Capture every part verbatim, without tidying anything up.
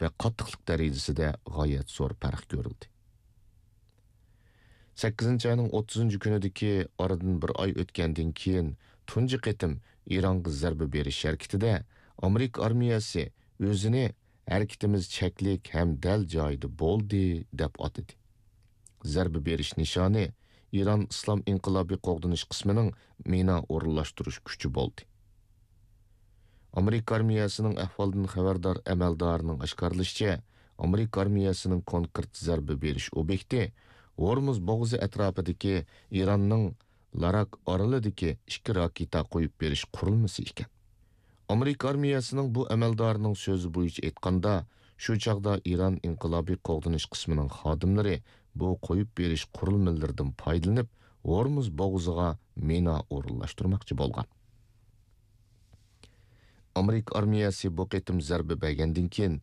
ۋە قاتتىقلىق دەرىجىسىدە غايەت زور پەرق كۆرۈلدى. سەككىزىنچى ئاينىڭ ئوتتۇزىنچى كۈنىدىكى ئارىدىن بىر ئاي ئۆتكەندىن كېيىن، تۇنجى قېتىم ئىرانغا زەربە بېرىش ھەرىكىتىدە ئامېرىكا ئارمىيەسى ئۆزىنى «ھەرىكىتىمىز چەكلىك ھەم دەل جايىدا بولدى» دەپ ئاتىدى. زەربە بېرىش نىشانى ئىران ئىسلام ئىنقىلابىي قوغدىنىش قىسمىنىڭ مىنا ئورۇنلاشتۇرۇش كۈچى بولدى. ئامېرىكا ئارمىيەسىنىڭ ئەھۋالدىن خەۋەردار ئەمەلدارىنىڭ ئاشكارىلىشىچە، ئامېرىكا ئارمىيەسىنىڭ كونكرېت زەربە بېرىش ئوبيېكتى ھورمۇز بوغۇزى ئەتراپىدىكى ئىراننىڭ لاراك ئارىلىدىكى ئىككى راكېتا قويۇپ بېرىش قۇرۇلمىسى ئىكەن. ئامېرىكا ئارمىيەسىنىڭ بۇ ئەمەلدارىنىڭ سۆزى بويىچە ئېيتقاندا، شۇ چاغدا ئىران ئىنقىلابىي قوغدىنىش قىسمىنىڭ خادىملىرى بۇ قويۇپ بېرىش قۇرۇلمىلىرىدىن پايدىلىنىپ، ھورمۇز بوغۇزىغا مىنا ئورۇنلاشتۇرماقچى بولغان. ئامېرىكا ئارمىيەسى بۇ قېتىم زەربە بەرگەندىن كېيىن،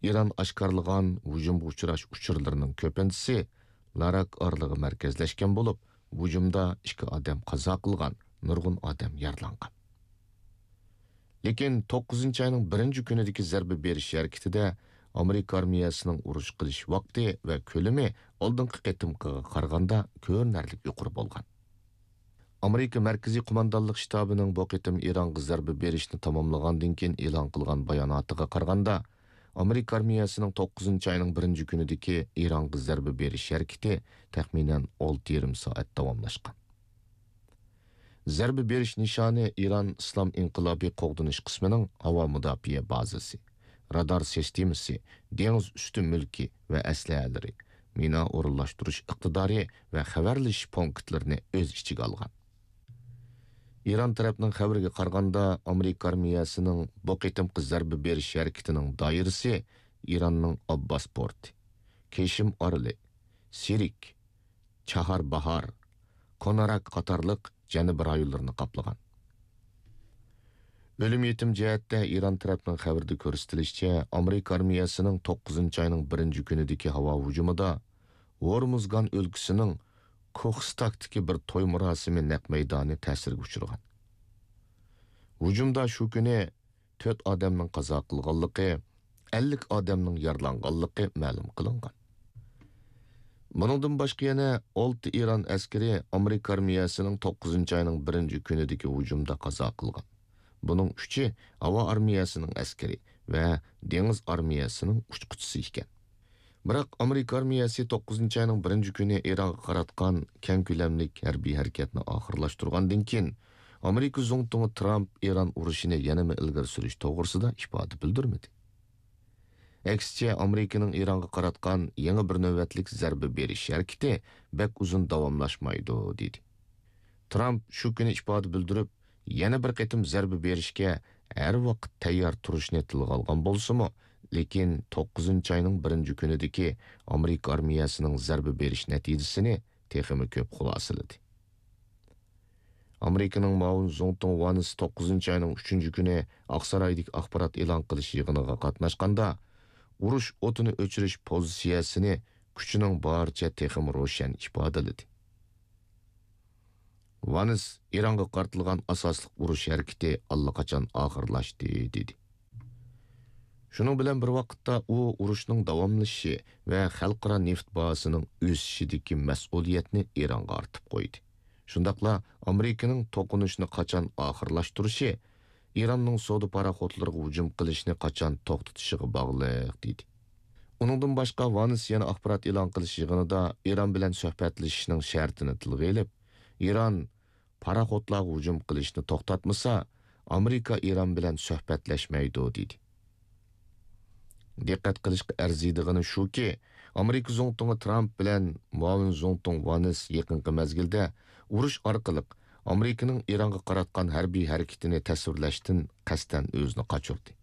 ئىران ئاشكارىلىغان ھۇجۇمغا ئۇچراش ئۇچۇرلىرىنىڭ كۆپىنچىسى لاراك ئارىلىغا مەركەزلەشكەن بولۇپ، ھۇجۇمدا ئىككى ئادەم قازا قىلغان، نۇرغۇن ئادەم يارىلانغان. لېكىن توققۇزىنچى ئاينىڭ بىرىنچى كۈنىدىكى زەربە بېرىش ھەرىكىتىدە ئامېرىكا ئارمىيەسىنىڭ ئۇرۇش قىلىش ۋاقتى ۋە كۆلىمى ئالدىنقى قېتىمقىغا قارىغاندا كۆرۈنەرلىك يۇقىرى بولغان. ئامېرىكا مەركىزىي قوماندانلىق شتابىنىڭ بۇ قېتىم ئىرانغا زەربە بېرىشنى تاماملىغاندىن كېيىن ئېلان قىلغان باياناتىغا قارىغاندا، ئامېرىكا ئارمىيەسىنىڭ توققۇزىنچى ئاينىڭ بىرىنچى كۈنىدىكى ئىرانغا زەربە بېرىش ھەرىكىتى تەخمىنەن ئالتە يېرىم سائەت داۋاملاشقان. زەربە بېرىش نىشانى ئىران ئىسلام ئىنقىلابىي قوغدىنىش قىسمىنىڭ ھاۋا مۇداپىئە بازىسى، رادار سىستېمىسى، دېڭىز ئۈستى مۈلكى ۋە ئەسلىھەلىرى، مىنا ئورۇنلاشتۇرۇش ئىقتىدارى ۋە خەۋەرلىشىش پونكىتلىرىنى ئۆز ئىچىگە ئالغان. ئىران تەرەپنىڭ خەۋىرىگە قارىغاندا، ئامېرىكا ئارمىيەسىنىڭ بۇ قېتىمقى زەربە بېرىش ھەرىكىتىنىڭ دائىرىسى ئىراننىڭ ئابباس پورتى، كېشىم ئارىلى، سىرك، چاھار باھار، كوناراك قاتارلىق جەنۇبىي رايونلىرىنى قاپلىغان. ئۆلۈم يېتىم جەھەتتە ئىران تەرەپنىڭ خەۋىرىدە كۆرسىتىلىشىچە، ئامېرىكا ئارمىيەسىنىڭ توققۇزىنچى ئاينىڭ بىرىنچى كۈنىدىكى ھاۋا ھۇجۇمىدا ھورمۇزگان ئۆلكىسىنىڭ كوخستاكتىكى بىر توي مۇراسىمى نەق مەيدانى تەسىرگە ئۇچرىغان. ھۇجۇمدا شۇ كۈنى تۆت ئادەمنىڭ قازا قىلغانلىقى، ئەللىك ئادەمنىڭ يارىلانغانلىقى مەلۇم قىلىنغان. بۇنىڭدىن باشقا يەنە ئالتە ئىران ئەسكىرى ئامېرىكا ئارمىيەسىنىڭ توققۇزىنچى ئاينىڭ بىرىنچى كۈنىدىكى ھۇجۇمدا قازا قىلغان. بۇنىڭ ئۈچى ھاۋا ئارمىيەسىنىڭ ئەسكىرى ۋە دېڭىز ئارمىيەسىنىڭ ئۇچقۇچىسى ئىكەن. بىراق، ئامېرىكا ئارمىيەسى توققۇزىنچى ئاينىڭ بىرىنچى كۈنى ئىرانغا قاراتقان كەڭ كۆلەملىك ھەربىي ھەرىكەتنى ئاخىرلاشتۇرغاندىن كېيىن، ئامېرىكا زۇڭتۇڭى ترامپ ئىران ئۇرۇشىنى يەنىمۇ ئىلگىرى سۈرۈش توغرىسىدا ئىپادە بىلدۈرمىدى. ئەكسىچە، ئامېرىكىنىڭ ئىرانغا قاراتقان يېڭى بىر نۆۋەتلىك زەربە بېرىش ھەرىكىتى بەك ئۇزۇن داۋاملاشمايدۇ، دېدى. ترامپ شۇ كۈنى ئىپادە بىلدۈرۈپ، يەنە بىر قېتىم زەربە بېرىشكە ھەر ۋاقىت تەييار تۇرۇشنى تىلغا ئالغان بولسىمۇ، لېكىن توققۇزىنچى ئاينىڭ بىرىنچى كۈنىدىكى ئامېرىكا ئارمىيەسىنىڭ زەربە بېرىش نەتىجىسىنى تېخىمۇ كۆپ خۇلاسىلىدى. ئامېرىكىنىڭ مۇئاۋىن زۇڭتۇڭ ۋانىس توققۇزىنچى ئاينىڭ ئۈچىنچى كۈنى ئاقسارايدىكى ئاخبارات ئېلان قىلىش يىغىنىغا قاتناشقاندا، ئۇرۇش ئوتىنى ئۆچۈرۈش پوزىتسىيەسىنى كۈچىنىڭ بارىچە تېخىمۇ روشەن ئىپادىلىدى. ۋانىس ئىرانغا قارىتىلغان ئاساسلىق ئۇرۇش ھەرىكىتى ئاللىقاچان ئاخىرلاشتى، دېدى. شۇنىڭ بىلەن بىر ۋاقىتتا، ئۇ ئۇرۇشنىڭ داۋاملىشىشى ۋە خەلقئارا نېفىت باھاسىنىڭ ئۆسۈشىدىكى مەسئۇلىيەتنى ئىرانغا ئارتىپ قويدى. شۇنداقلا ئامېرىكىنىڭ توقۇنۇشنى قاچان ئاخىرلاشتۇرۇشى، ئىراننىڭ سودا پاراخوتلىرىغا ھۇجۇم قىلىشنى قاچان توختىتىشىغا باغلىق، دېدى. ئۇنىڭدىن باشقا، ۋانس يەنە ئاخبارات ئېلان قىلىش يىغىنىدا ئىران بىلەن سۆھبەتلىشىشنىڭ شەرتىنى تىلغا ئېلىپ، ئىران پاراخوتلارغا ھۇجۇم قىلىشنى توختاتمىسا، ئامېرىكا ئىران بىلەن سۆھبەتلەشمەيدۇ، دېدى. دىققەت قىلىشقا ئەرزىيدىغىنى شۇكى، ئامېرىكا زۇڭتۇڭى ترامپ بىلەن مۇئاۋىن زۇڭتۇڭ ۋانس يېقىنقى مەزگىلدە ئۇرۇش ئارقىلىق ئامېرىكىنىڭ ئىرانغا قاراتقان ھەربىي ھەرىكىتىنى تەسۋىرلەشتىن قەستەن ئۆزىنى قاچۇردى.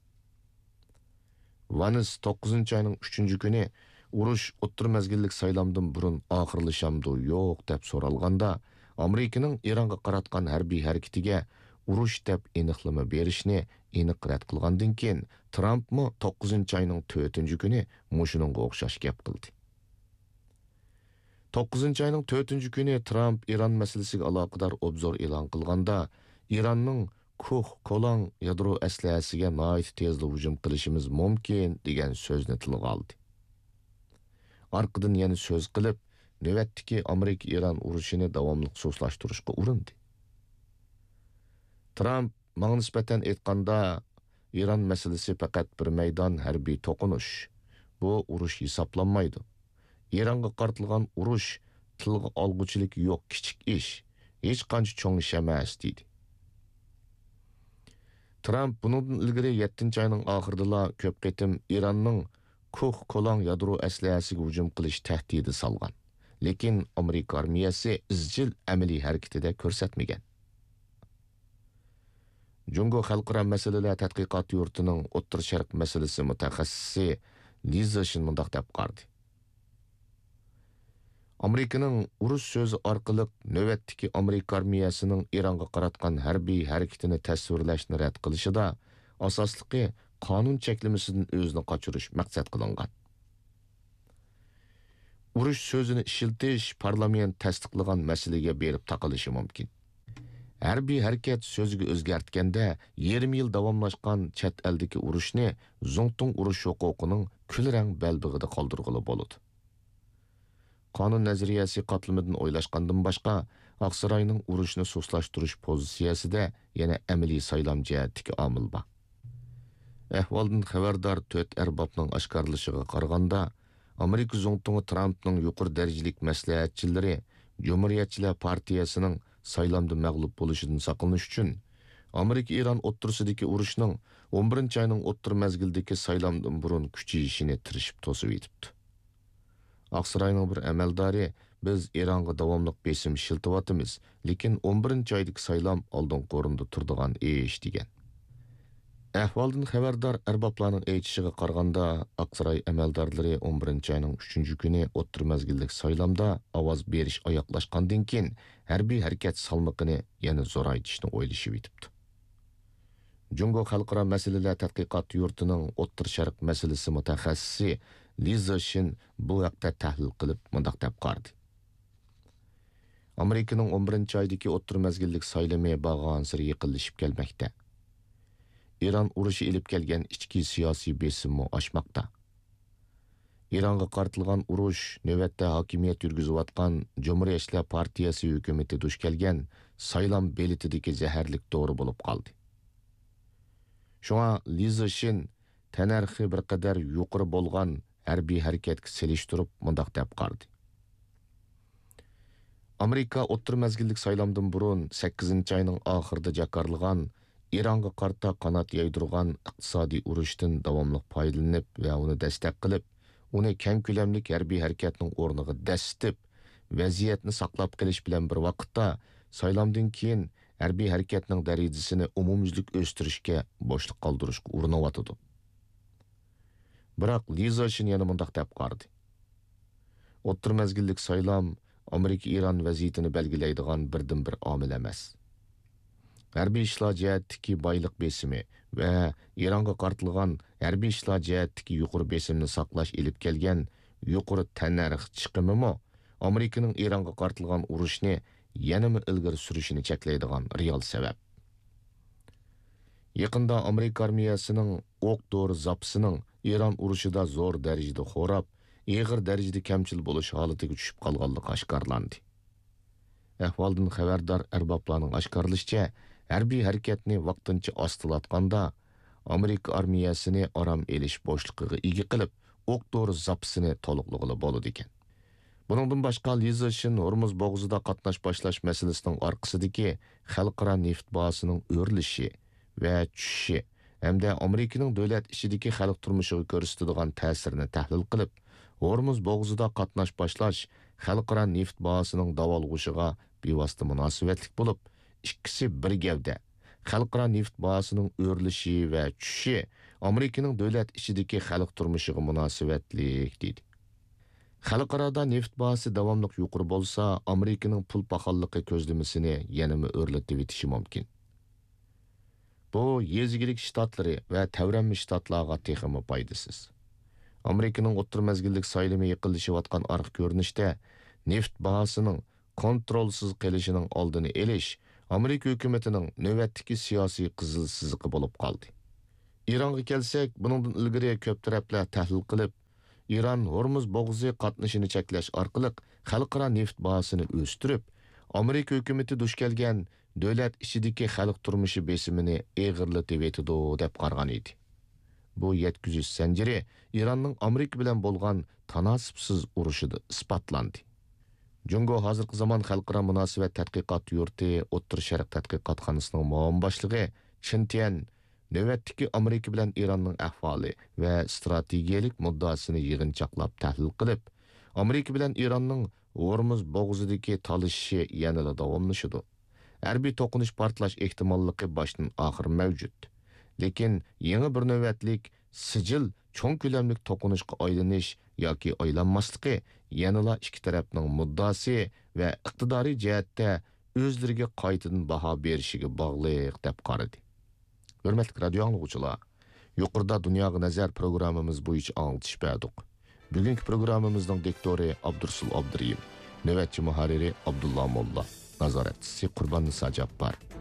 ۋانس توققۇزىنچى ئاينىڭ ئۈچىنچى كۈنى ئۇرۇش ئوتتۇرا مەزگىللىك سايلامدىن بۇرۇن ئاخىرلىشامدۇ يوق دەپ سورالغاندا، ئامېرىكىنىڭ ئىرانغا قاراتقان ھەربىي ھەرىكىتىگە ئۇرۇش دەپ ئېنىقلىما بېرىشنى ئېنىق رەت قىلغاندىن كېيىن، ترامپمۇ توققۇزىنچى ئاينىڭ تۆتىنچى كۈنى مۇشۇنىڭغا ئوخشاش گەپ قىلدى. توققۇزىنچى ئاينىڭ تۆتىنچى كۈنى ترامپ ئىران مەسىلىسىگە ئالاقىدار ئوبزور ئېلان قىلغاندا، ئىراننىڭ كوھ كولاڭ يادرو ئەسلىھەسىگە ناھايىتى تېزلا ھۇجۇم قىلىشىمىز مۇمكىن، دېگەن سۆزنى تىلغا ئالدى. ئارقىدىن يەنە سۆز قىلىپ، نۆۋەتتىكى ئامېرىكا-ئىران ئۇرۇشىنى داۋاملىق سۇسلاشتۇرۇشقا ئۇرۇندى. ترامپ، ماڭا نىسبەتەن ئېيتقاندا، ئىران مەسىلىسى پەقەت بىر مەيدان ھەربىي توقۇنۇش. بۇ ئۇرۇش ھېسابلانمايدۇ. ئىرانغا قارىتىلغان ئۇرۇش تىلغا ئالغۇچىلىكى يوق كىچىك ئىش، ھېچقانچە چوڭ ئىش ئەمەس، دېدى. ترامپ بۇنىڭدىن ئىلگىرى يەتتىنچى ئاينىڭ ئاخىرىدىلا كۆپ قېتىم ئىراننىڭ كوھ كولاڭ يادرو ئەسلىھەسىگە ھۇجۇم قىلىش تەھدىتى سالغان. لېكىن ئامېرىكا ئارمىيەسى ئىزچىل ئەمەلىي ھەرىكىتىدە كۆرسەتمىگەن. جۇڭگو خەلقئارا مەسىلىلەر تەتقىقات يۇرتىنىڭ ئوتتۇرا شەرق مەسىلىسى مۇتەخەسسىسى لى زېشىن مۇنداق دەپ قارىدى. ئامېرىكىنىڭ ئۇرۇش سۆزى ئارقىلىق نۆۋەتتىكى ئامېرىكا ئارمىيەسىنىڭ ئىرانغا قاراتقان ھەربىي ھەرىكىتىنى تەسۋىرلەشنى رەت قىلىشىدا ئاساسلىقى قانۇن چەكلىمىسىدىن ئۆزىنى قاچۇرۇش مەقسەت قىلىنغان. ئۇرۇش سۆزىنى ئىشلىتىش پارلامېنت تەستىقلىغان مەسىلىگە بېرىپ تاقىلىشى مۇمكىن. ھەربىي ھەرىكەت سۆزىگە ئۆزگەرتكەندە، يېرىم يىل داۋاملاشقان چەت ئەلدىكى ئۇرۇشنى زۇڭتۇڭ ئۇرۇش ھوقۇقىنىڭ كۈلرەڭ بەلبېغىدا قالدۇرغىلى بولىدۇ. قانۇن نەزەرىيەسى قاتلىمىدىن ئويلاشقاندىن باشقا، ئاقساراينىڭ ئۇرۇشنى سۇسلاشتۇرۇش پوزىتسىيەسىدە يەنە ئەمەلىي سايلام جەھەتتىكى ئامىل بار. ئەھۋالدىن خەۋەردار تۆت ئەربابنىڭ ئاشكارىلىشىغا قارىغاندا، ئامېرىكا زۇڭتۇڭى ترامپنىڭ يۇقىرى دەرىجىلىك مەسلىھەتچىلىرى جۇمھۇرىيەتچىلەر پارتىيەسىنىڭ سايلامدا مەغلۇپ بولۇشىدىن ساقلىنىش ئۈچۈن، ئامېرىكا-ئىران ئوتتۇرىسىدىكى ئۇرۇشنىڭ ئون بىرىنچى ئاينىڭ ئوتتۇرا مەزگىلدىكى سايلامدىن بۇرۇن كۈچىيىشىنى تىرىشىپ توسۇۋېتىپتۇ. ئاقساراينىڭ بىر ئەمەلدارى، بىز ئىرانغا داۋاملىق بېسىم ئىشلىتىۋاتىمىز، لېكىن ئون بىرىنچى ئايدىكى سايلام ئالدىنقى ئورۇندا تۇرىدىغان ئىش، دېگەن. ئەھۋالدىن خەۋەردار ئەربابلارنىڭ ئېيتىشىغا قارىغاندا، ئاقساراي ئەمەلدارلىرى ئون بىرىنچى ئاينىڭ ئۈچىنچى كۈنى ئوتتۇرا مەزگىللىك سايلامدا ئاۋاز بېرىش ئاياغلاشقاندىن كېيىن، ھەربىي ھەرىكەت سالمىقىنى يەنە زورايتىشنى ئويلىشىۋېتىپتۇ. جۇڭگو خەلقئارا مەسىلىلەر تەتقىقات يۇرتىنىڭ ئوتتۇرا شەرق مەسىلىسى مۇتەخەسسىسى لى زېشىن بۇ ھەقتە تەھلىل قىلىپ مۇنداق دەپ قارىدى. ئامېرىكىنىڭ ئون بىرىنچى ئايدىكى ئوتتۇرا مەزگىللىك سايلىمى بارغانسېرى يېقىنلىشىپ كەلمەكتە. ئىران ئۇرۇشى ئېلىپ كەلگەن ئىچكى سىياسىي بېسىممۇ ئاشماقتا. ئىرانغا قارىتىلغان ئۇرۇش نۆۋەتتە ھاكىمىيەت يۈرگۈزۈۋاتقان جۇمھۇرىيەتچىلەر پارتىيەسى ھۆكۈمىتى دۇچ كەلگەن سايلام بېلىتىدىكى زەھەرلىك دورا بولۇپ قالدى. شۇڭا لى زېشىن تەننەرخى بىر قەدەر يۇقىرى بولغان ھەربىي ھەرىكەتكە سېلىشتۇرۇپ مۇنداق دەپ قارىدى. ئامېرىكا ئوتتۇرا مەزگىللىك سايلامدىن بۇرۇن سەككىزىنچى ئاينىڭ ئاخىرىدا جاكارلىغان ئىرانغا قارىتا قانات يايدۇرغان ئىقتىسادىي ئۇرۇشتىن داۋاملىق پايدىلىنىپ ۋە ئۇنى دەستەك قىلىپ، ئۇنى كەڭ كۆلەملىك ھەربىي ھەرىكەتنىڭ ئورنىغا دەسسىتىپ، ۋەزىيەتنى ساقلاپ قېلىش بىلەن بىر ۋاقىتتا، سايلامدىن كېيىن ھەربىي ھەرىكەتنىڭ دەرىجىسىنى ئومۇميۈزلۈك ئۆستۈرۈشكە بوشلۇق قالدۇرۇشقا ئۇرۇنۇۋاتىدۇ. بىراق لى زېشىن يەنە مۇنداق دەپ قارىدى. ئوتتۇرا مەزگىللىك سايلام ئامېرىكا-ئىران ۋەزىيىتىنى بەلگىلەيدىغان بىردىنبىر ئامىل ئەمەس. ھەربىي ئىشلار جەھەتتىكى بايلىق بېسىمى ۋە ئىرانغا قارىتىلغان ھەربىي ئىشلار جەھەتتىكى يۇقىرى بېسىمنى ساقلاش ئېلىپ كەلگەن يۇقىرى تەننەرخ چىقىمىمۇ ئامېرىكىنىڭ ئىرانغا قارىتىلغان ئۇرۇشنى يەنىمۇ ئىلگىرى سۈرۈشىنى چەكلەيدىغان رېئال سەۋەب. يېقىندا ئامېرىكا ئارمىيەسىنىڭ ئوق-دورا زاپىسىنىڭ ئىران ئۇرۇشىدا زور دەرىجىدە خوراپ، ئېغىر دەرىجىدە كەمچىل بولۇش ھالىتىگە چۈشۈپ قالغانلىقى ئاشكارىلاندى. ئەھۋالدىن خەۋەردار ئەربابلارنىڭ ئاشكارىلىشىچە، ھەربىي ھەرىكەتنى ۋاقتىنچە ئاستىلاتقاندا، ئامېرىكا ئارمىيەسىنى ئارام ئېلىش بوشلۇقىغا ئىگە قىلىپ، ئوق-دورا زاپىسىنى تولۇقلىغىلى بولىدىكەن. بۇنىڭدىن باشقا، لى زېشىن ھورمۇز بوغۇزىدا قاتناش باشلاش مەسىلىسىنىڭ ئارقىسىدىكى خەلقئارا نېفىت باھاسىنىڭ ئۆرلىشى ۋە چۈشۈشى ھەمدە ئامېرىكىنىڭ دۆلەت ئىچىدىكى خەلق تۇرمۇشىغا كۆرسىتىدىغان تەسىرىنى تەھلىل قىلىپ، ھورمۇز بوغۇزىدا قاتناش باشلاش خەلقئارا نېفىت باھاسىنىڭ داۋالغۇشىغا بىۋاسىتە مۇناسىۋەتلىك بولۇپ، ئىككىسى بىر گەۋدە، خەلقئارا نېفىت باھاسىنىڭ ئۆرلىشى ۋە چۈشۈشى ئامېرىكىنىڭ دۆلەت ئىچىدىكى خەلق تۇرمۇشىغا مۇناسىۋەتلىك، دېدى. خەلقئارادا نېفىت باھاسى داۋاملىق يۇقىرى بولسا، ئامېرىكىنىڭ پۇل پاخاللىقى كۆزلىمىسىنى يەنىمۇ ئۆرلىتىۋېتىشى مۇمكىن. بۇ يېزا ئىگىلىك شتاتلىرى ۋە تەۋرەنمە شتاتلارغا تېخىمۇ پايدىسىز. ئامېرىكىنىڭ ئوتتۇرا مەزگىللىك سايلىمى يېقىنلىشىۋاتقان ئارقا كۆرۈنۈشتە، نېفىت باھاسىنىڭ كونترولسىز قېلىشىنىڭ ئالدىنى ئېلىش، ئامېرىكا ھۆكۈمىتىنىڭ نۆۋەتتىكى سىياسىي قىزىل سىزىقى بولۇپ قالدى. ئىرانغا كەلسەك، بۇنىڭدىن ئىلگىرى كۆپ تەرەپلەر تەھلىل قىلىپ، ئىران ھورمۇز بوغۇزى قاتنىشىنى چەكلەش ئارقىلىق خەلقئارا نېفىت باھاسىنى ئۆستۈرۈپ، ئامېرىكا ھۆكۈمىتى دۇچ كەلگەن دۆلەت ئىچىدىكى خەلق تۇرمۇشى بېسىمىنى ئېغىرلىتىۋېتىدۇ، دەپ قارىغان ئىدى. بۇ يەتكۈزۈش زەنجىرى ئىراننىڭ ئامېرىكا بىلەن بولغان تاناسىپسىز ئۇرۇشىدا ئىسپاتلاندى. جۇڭگو ھازىرقى زامان خەلقئارا مۇناسىۋەت تەتقىقات يۇرتى ئوتتۇرا شەرق تەتقىقاتخانىسىنىڭ مۇئاۋىن باشلىقى چېن تيەن نۆۋەتتىكى ئامېرىكا بىلەن ئىراننىڭ ئەھۋالى ۋە ئىستراتېگىيەلىك مۇددىئاسىنى يىغىنچاقلاپ تەھلىل قىلىپ، ئامېرىكا بىلەن ئىراننىڭ ھورمۇز بوغۇزىدىكى تالىشىشى يەنىلا داۋاملىشىدۇ. ھەربىي توقۇنۇش پارتلاش ئېھتىماللىقى باشتىن ئاخىر مەۋجۇت. لېكىن يېڭى بىر نۆۋەتلىك سىجىل چوڭ كۆلەملىك توقۇنۇشقا ئايلىنىش ياكى ئايلانماسلىقى يەنىلا ئىككى تەرەپنىڭ مۇددىئاسى ۋە ئىقتىدارىي جەھەتتە ئۆزلىرىگە قايتىدىن باھا بېرىشىگە باغلىق، دەپ قارىدى. ھۆرمەتلىك رادىيو ئاڭلىغۇچىلار، يۇقىرىدا دۇنياغا نەزەر پروگراممىمىز بويىچە ئاڭلىتىش بەردۇق. بۈگۈنكى پروگراممىمىزنىڭ دىكتورى ئابدۇرۇسۇل ئابدۇرېھىم، نۆۋەتچى مۇھەررىرى ئابدۇللا موللا، نازارەتچىسى قۇرباننىسا جاپپار.